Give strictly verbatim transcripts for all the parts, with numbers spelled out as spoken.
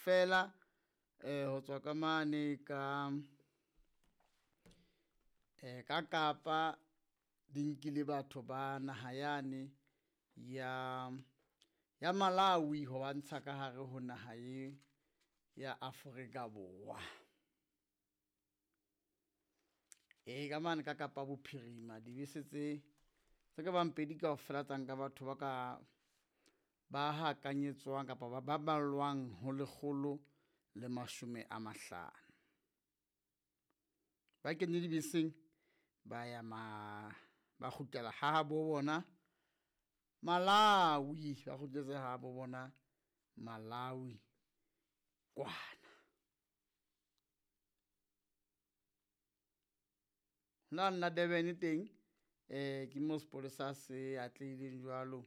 kaofela eh ho tswa ka mane ka eh ka Kapa di nkile batho ba naha yane ya ya Malawi ho ba ntsha ka hare ho naha ye ya Afrika Borwa. E ka mane ka Kapa Bophirima dibese tse tse ka bang pedi kaofela tsa nka batho ba ka ba hakanyetswang kapa ba ba ballwang ho lekgolo le mashome a mahlano. Ba kene dibeseng ba ya ma ba kgutlela ha bo bona Malawi, ba kgutletse ha bo bona Malawi kwana. Lane la Durban teng eh ke mo sepolesa se atlehileng jwalo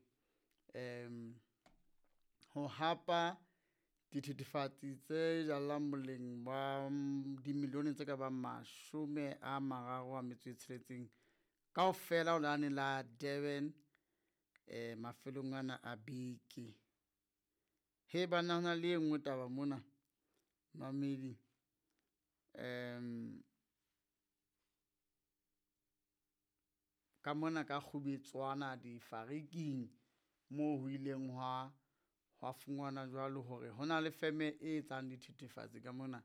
um ho hapa dithethefatsi tse jallang boleng ba dimilione tse ka bang mashome a mararo a metso e tsheletseng kaofela ho lane la Durban eh mafelong ana a beke. He banna hona le e nngwe taba mona mamedi um ka mona ka Kgubetswana difariking moo ho ileng hwa hwa fungwana jwalo hore hona le feme e etsang dithethefatsi ka mona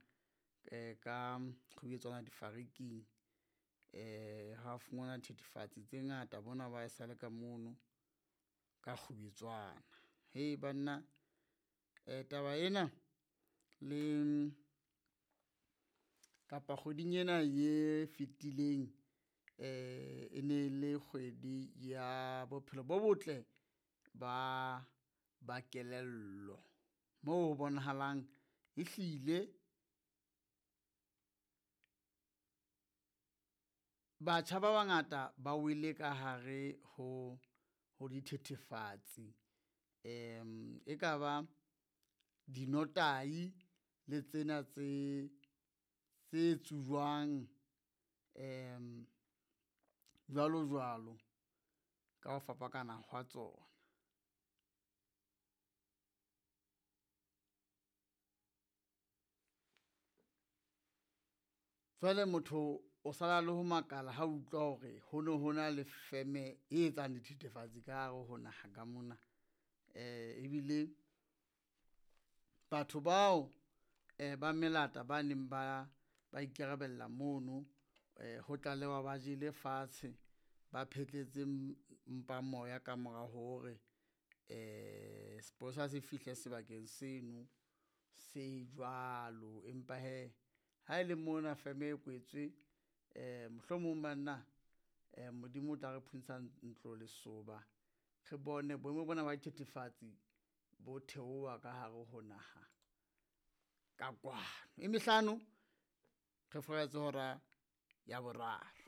eh ka Kgubetswana difariking. Eh ha fungwana dithethefatsi tse ngata bona ba e sale ka mono ka Kgubetswana. Hei banna eh taba ena le kapa kgweding ena ye fetileng eh e ne le kgwedi ya bophelo bo botle ba ba kelello moo ho bonahalang ehlile batjha ba bangata ba wele ka hare ho ho dithethefatsi um e ka ba dinotahi le tsena tse tse tsujwang um jwalo jwalo ka ho fapakana hwa tsona. Jwale motho o sala le ho makala ha utlwa hore ho no ho na le feme e etsang dithethefatsi ka hare ho naha ka mona, eh ebile batho bao eh ba melata ba neng ba ba ikarabella mono eh ho tlalewa ba jele fatshe, ba phetletse mpa moya ka mora hore eh sepolesa se fihle sebakeng seno se jwalo. Empa hee ha ele mona feme e kwetswe eh mohlomong banna eh Modimo o tla re phuntsha ntlo lesoba, re bone boemo bona ba dithethefatsi bo theoha ka hare ho naha ka kwano. E mehlano re furaletse hora ya boraro.